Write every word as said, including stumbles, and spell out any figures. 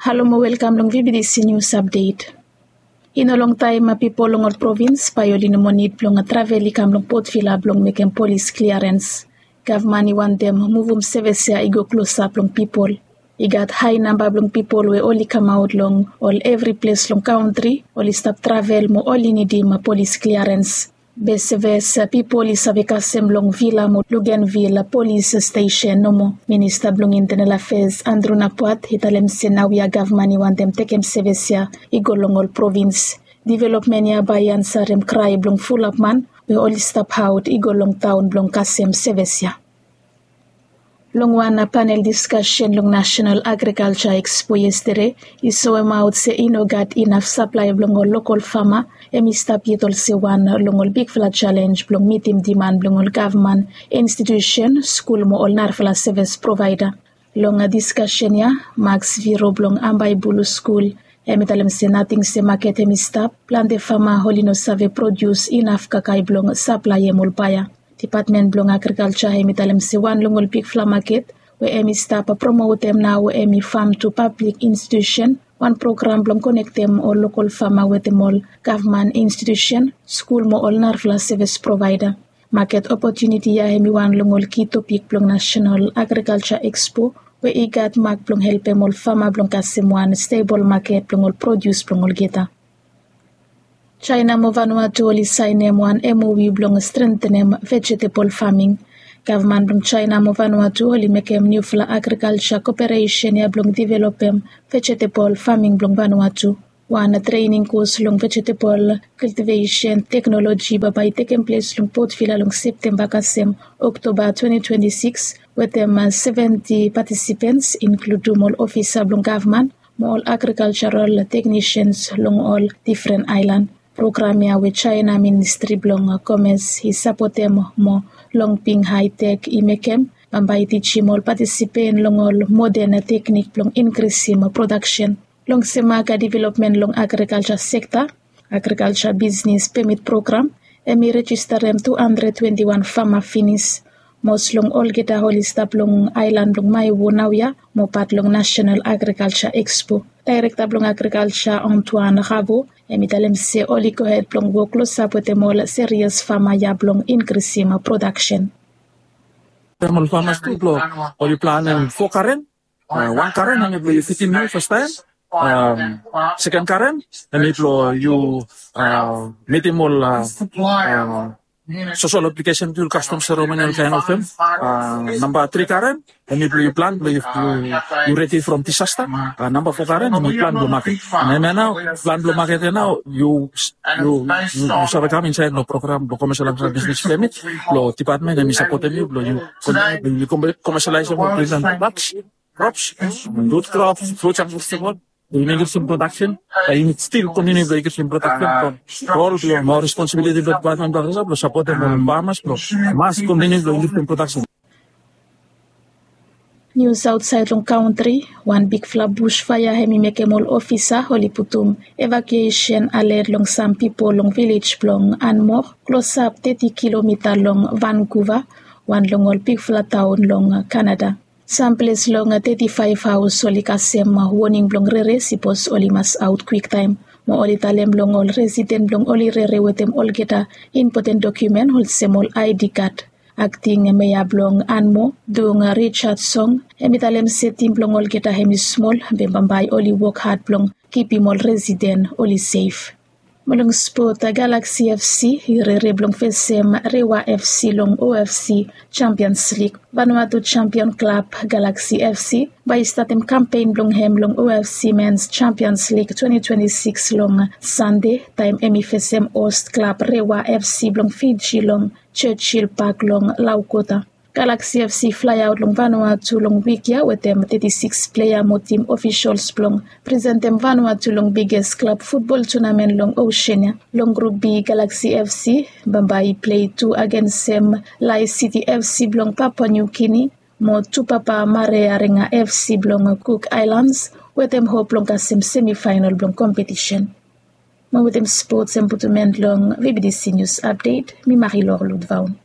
Halo mo welkam long V B T C News Update. I no longtaem pipol long ol provins bae oli no moa nid blong travel i kam long Port Vila blong mekem polis kliarens. Gavman i wantem muvum sevis ya i go klosap long pipol. I gat hae namba blong pipol we oli kamaot long ol evri ples long kantri, oli stap travel mo oli nidim polis kliarens. Be sevis pipol i save kasem long Vila mo Luganville polis stesen nomo. Minista blong Intenel Afeas Andrew Napuat i talem se naoia gavman i wantem tekem sevis ya i go long ol provins. Developmen ya bae i ansarem krae blong fulap man we oli stap aot i go long taon blong kasem sevis ya. Long wan panel diskasen long National Agriculture Expo yestede i soemaot se i no gat inaf saplae blong ol lokol fama, hem i stap yet olsem wan long ol bigfala jalenj blong mitim diman blong ol gavman, institusen, skul mo ol narafala sevis provaeda. Long diskasen ya, Max Viro blong Ambaebulu skul hem i talem se nating se maket hem i stap, plante fama oli no save prodius inaf kakae blong saplaem ol baea. Dipatmen blong Agrikalja hem i talem se wan long ol bigfala maket we hem i stap promotem nao hem i Farm to Public Institution, wan program blong konektem ol lokol fama wetem ol gavman institusen, skul mo ol narafala sevis provaeda. Maket opotuniti ya hem i wan long ol ki topik blong National Agriculture Expo we i gat mak blong helpem ol fama blong kasem wan stebol maket blong ol prodius blong olgeta. Jaena mo Vanuatu oli saenem wan M O U blong strentenem vejetebol faming. Gavman blong Jaena mo Vanuatu oli mekem niufala agrikalja koperesen ya blong developem vejetebol faming blong Vanuatu. Wan trening kos long vejetebol kiltivesen teknoloji bambae i tekem ples long Port Vila long Septemba kasem Oktoba twenti twenti sikis, wetem seventi patisipens, inkludum ol ofisa blong gavman mo ol agrikaljaral teknisens long ol difren aelan. Program ya we Jaena Ministri blong Komes i sapotem mo Longping Haitek i mekem, bambae i tijim ol patisipen long ol moden teknik blong inkrisim prodaksen. Long sem aga developmen long agrikalja sekta, agrikalja bisnis pemit program hem i rejistarem tu handred twenti wan fama finis. Mos long olgeta oli stap long aelan blong Maewo naoia mo pat long National Agriculture Expo. Daerekta blong Agrikalja Antoine Ravo hem i talem se oli gohed blong wok klosap wetem ol serias fama ya blong inkrisim prodaksen. Ol famas tu blong oli planem fo karen. Wan karen hem i blong yu fitim yu fastaem. Seken karen hem i blong yu mitim ol sosol aplikesen tu kastom seremoni ol kaen of hem. Namba tri karen hem i blong yu plan blong yu redi from disasta. Namba fo karen hem i plan blong maket. Hem ya nao plan blong maket ya nao yu save kam insaed long program blong komeselaiza bisnis pemit blong dipatmen hem i sapotem yu blong yu komeselaiza ol prizan prodaks, krops, rut krops, fruts and vegetable. Yu nid inkrisim prodaksen, yu nid stil kontiniu blong inkrisim prodaksen from rol blong mo responsibiliti blong dipatmen blong agrikalja blong sapotem ol famas blong mas kontiniu blong inkrisim prodaksen. Nius aotsaed long kantri. Wan bigfala busfaea hem i mekem ol ofisa oli putum evakuesen aled long sam pipol long vilej blong Anmor, klosap teti kilomita long Vankuva, wan long ol bigfala taon long Kanada. Sam ples long teti faef haos oli kasem woning blong rere sipos oli mas aot kwiktaem. Mo oli talem long ol residen blong oli rere wetem olgeta impoten dokumen olsem ol I D kad. Akting meya blong Anmor, Dung Richard Song, hem i talem se tim blong olgeta hem i smol be bambae oli wok had blong kipim ol residen oli sef. Mo long spot, Galaxy F C i rere blong fesem Rewa F C long O F C Champions League. Vanuatu jampion klab Galaxy F C bae i statem kampen blong hem long O F C Men's Champions League twenti twenti sikis long Sande taem hem i fesem host klab Rewa F C blong Fiji long Churchill Park long Laukota. Galaxy F C flaeaot long Vanuatu long wik ya wetem teti sikis plea mo tim ofisals blong presentem Vanuatu long biges klab futbol tunamen long osen ya. Long grup B, Galaxy F C bambae i plei tu agensem Lae City F C blong Papua New Guinea mo Tupapa Marearega F C blong Cook Islands wetem hop blong kasem semifaenol blong kompetisen. Mo wetem spots hem putum en long V B T C News Update, mi Marie-Laure Ludvaun.